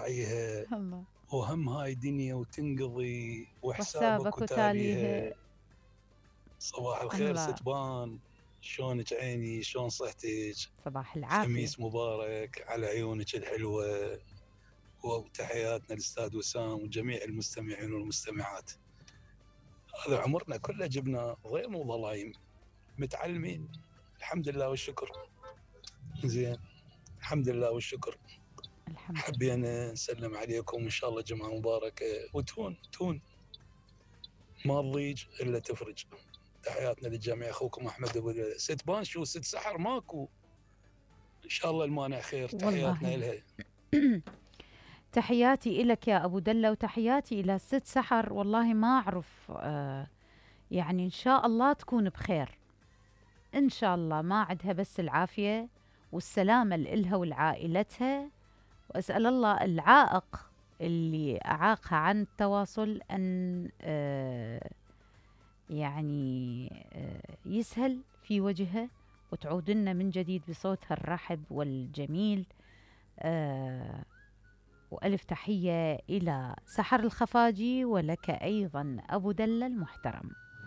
راعيها، الله. وهم هاي دنيا وتنقضي وحسابك وحسابك وتاليها. وتاليها. صباح الخير الله. ستبان، شلونك عيني، شلون صحتك؟ صباح العافية. خميس مبارك على عيونك الحلوة. وتحياتنا للأستاذ وسام وجميع المستمعين والمستمعات. هذا عمرنا كله جبنا ضيم وظلايم، متعلمين الحمد لله والشكر. زين، الحمد لله والشكر. الحمد لله. حبينا نسلم عليكم، إن شاء الله جمعة مباركة وتهون ما تضيج إلا تفرج. تحياتنا للجميع. أخوكم أحمد أبو ست بان. شو ست سحر ماكو؟ إن شاء الله المانع خير. تحياتنا والله. إلها. تحياتي إلك يا أبو دلة، وتحياتي إلى ست سحر. والله ما أعرف، يعني إن شاء الله تكون بخير، إن شاء الله ما عندها بس العافية والسلامة لإلها ولعائلتها. وأسأل الله العائق اللي أعاقها عن التواصل أن يعني يسهل في وجهها، وتعود لنا من جديد بصوتها الرحب والجميل. وألف تحية إلى سحر الخفاجي، ولك أيضا أبو دلة المحترم.